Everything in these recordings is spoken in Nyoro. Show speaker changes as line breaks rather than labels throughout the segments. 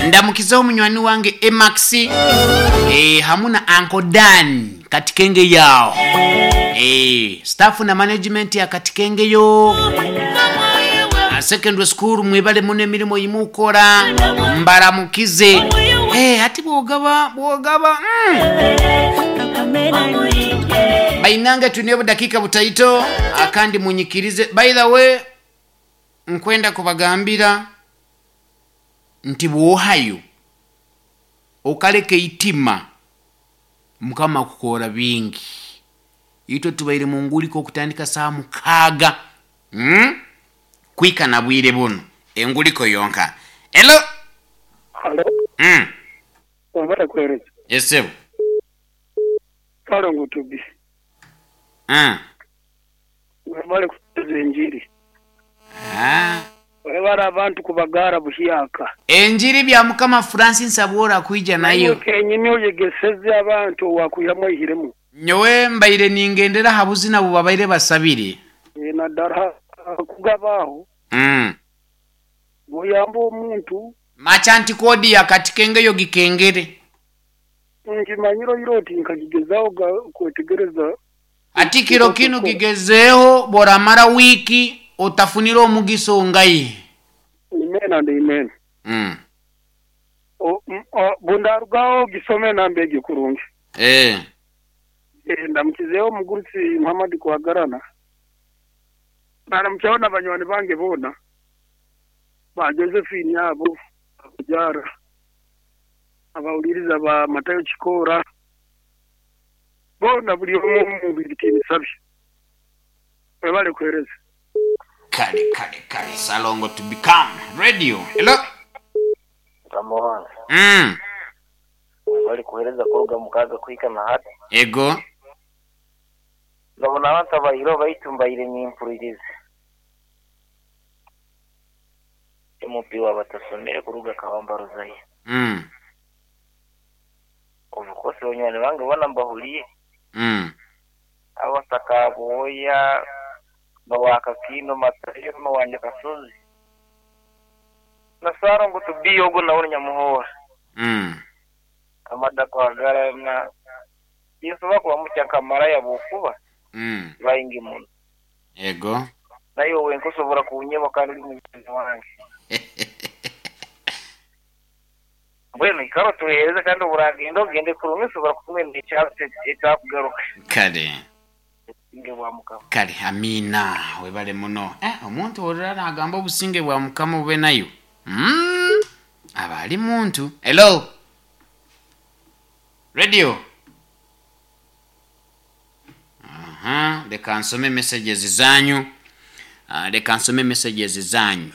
Ndamukizeho munywani wange Emax, hamu na Uncle Dan Katikenge yao, staff na management ya Katikengeyo secondary school, mwebale muno emirimu yimukora, mbaramukize. Ati bwogaba bwogaba. Bainange tuniyo budakika butaito akandi munyikirize. By the way, nkwenda kubagambira nti bwohayo okaleka eitima, Mukama akukora bingi. Itwe tubaire munguliko okutandika saa 6, Kwika na bwire buno enguliko yonka. Hello.
Halo. Wabara kuhereza.
Esebo.
Palo ngutubi. Wabale kutuza enjiri. Wabara abantu kubagara buhyaka.
Enjiri bya Mukama Francis abora kuija nayo.
Kenyini oyegeseze abantu wakuyamwe ihiremu.
Nyowe mbaire ningendera habuzina bubabaire basabire.
Na dara kugabaho. Buyamba omuntu.
Machanti kodi ya Katikengeyo gikengere.
Nkimanyiro iroti nkagigezaho kwetegereza.
Ati kiro kinu kigezeho boramara wiki otafunira omugiso ngai.
Amen and amen. Bundarugaho gisome nambege kurungi. Ndamukizeho mugurusi Muhammad Kwagarana. Naramchaona banywani bange bona. Ba Josephine yabo kujara. Abawuliriza ba Matayo Chikora. Bona buli omu mu bitini sabi. Webale kuhereza.
Kale kale kale Salongo to become radio. Hello.
Ramon. Webale kuhereza kuruga mukaga kwika na hati.
Ego.
Ndabona abantu abayiro bayitumbayire n'impuririze. MP wabatasomere kuruga Kabamba Rozaye. Obukosi onywani bange bona mbahuliye. Abasakaboya bawaka kino matayo mawanje kasozi. Nasaro ngo tubiyogo na nyamuhora. Amada kwagara na Yesu bakuba mucyakamara yabukuba. Bayingi muno.
Ego.
Nayo we nkosobora kunyeba kandi uri mugenzi wange. Bueno, ikaro tuhereza kandi buragenda ugende kurumwe ushobora kumwenda icyatsi cyakugaruka.
Kale.
Obusinge bwa Mukama.
Kale, amina. Webale muno. Omuntu orara agamba obusinge bwa Mukama bube nayo. Aba ali muntu. Hello. Radio. Aha, leka nsome messages zanyu. Leka nsome messages zanyu.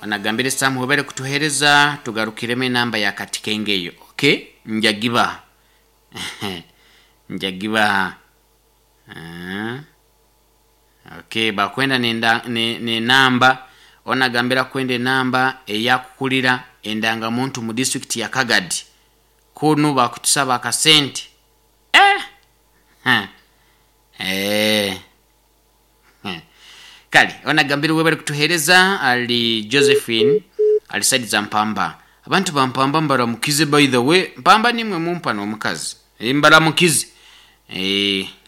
Anagambire Sam webale kutuhereza tugarukireme namba ya Katikengeyo. Okay? Njagiba. Njagiba. Okay, bakwenda ne namba onagambira kwende namba eyakukulira endanga muntu mu district ya Kagadi. Kunu bakutusaba akasente. Kale onagambira webale kutuhereza ali Josephine alisaidiza Mpamba. Abantu ba Mpamba mbaramukize, by the way. Mpamba nimwe mumpa n'omukazi. Mbaramukize.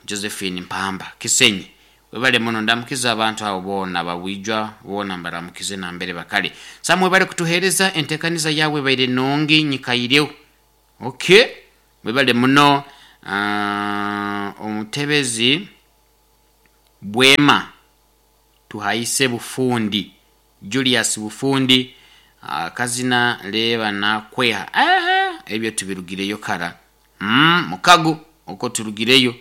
Josephine Mpamba Kisenyi. Webale muno ndamukiza abantu abo bona bawijwa bona mbaramukize na mbere bakale. Samwe bale kutuhereza entekaniza yawe baire nongi nyikayireo. Okay. Webale muno omutebezi Bwema tuhaise Bufundi Julius Bufundi kazina leba na kweha. Ebyo tubirugireyo kara. Mukago uko turugireyo.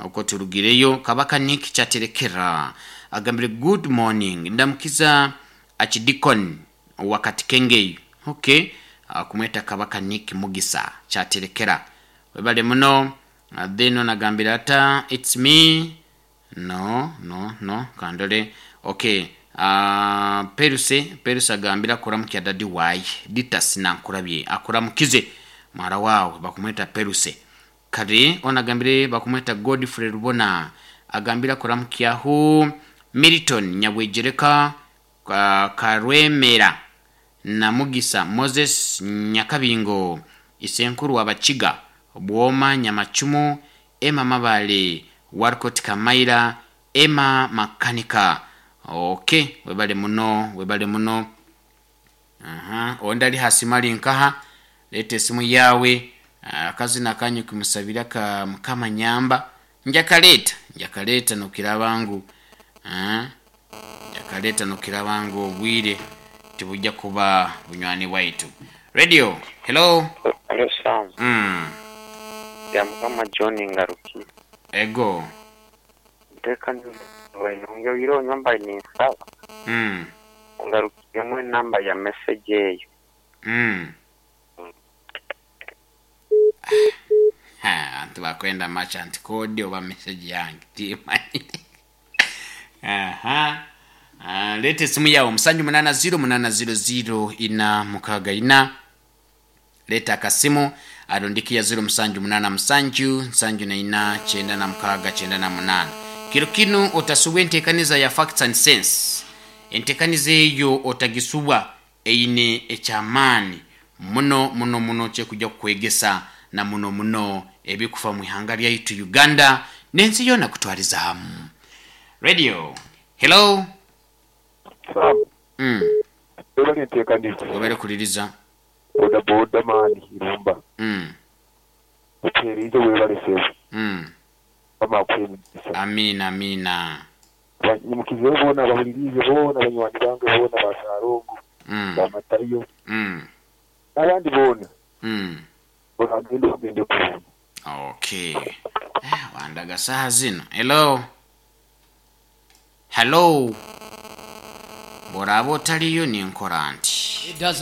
Uko turugireyo Kabaka Nick Chaterekera agambire good morning ndamukiza Achidikon wakati Kengeyo. Okay, kumweta Kabaka Nick Mugisa Chaterekera. Webale muno. Then onagambira ata it's me. No no no kandole. Okay. Peruse agambira kuramukya dadi wayi ditasi nankurabye akuramukize mwara wawe bakumweta Peruse. Kare onagambire bakumweta Godfrey Rubona agambira kuramukyaho Milton Nyabwejereka Karwemera. Namugisa Moses Nyakabingo, Isenkuru Wabachiga, Bwoma Nyamachumu, Emma Mabale, Warkot Kamaira, Emma Makanika. Okay, webale muno, webale muno. Aha, ondi ali hasimali nkaha, leeta esimu yawe. Akazina kanyu kumusabira ka Mukama nyamba. Njakaleeta, njakaleeta nokiraba ngu njakaleeta nokiraba ngu obwire tibujja kuba bunywani bwaitu. Radio, hello.
Hello Sam. Ya Mukama John Ngaruki.
Ego.
Nteekaniza nongeire nyumba ninsaba. Ngarukiremu enamba ya message eyo.
Ha, antu bakwenda merchant code oba message yange timanyire. Aha. Leta esimu yawe 780 800 464. Leta akasimu arundikia 0787 74 96 98. Kiro kinu otasubwa entekaniza ya facts and sense. Entekaniza eyo otagisubwa eine ekyamaani muno muno muno kyekujja kukwegesa na muno muno ebikufa mu ihanga lyaitu Uganda n'ensi yona kutwaliza hamu. Radio, hello.
Sam. Webale enteekaniza.
Webale kuliriza.
Boda boda maani irumba. Otuheerize webale sebo. Mukama akuhe emigisa.
Amina amina.
Banyimukizeho boona abahuliriize boona banywani bange boona ba Ssalongo, ba Matayo, n'abandi boona. Bagende bagende kurungi.
Okay. Wandaga saha zino. Hello. Hello. Bw'oraaba otaliyo ninkora nti.
It doesn't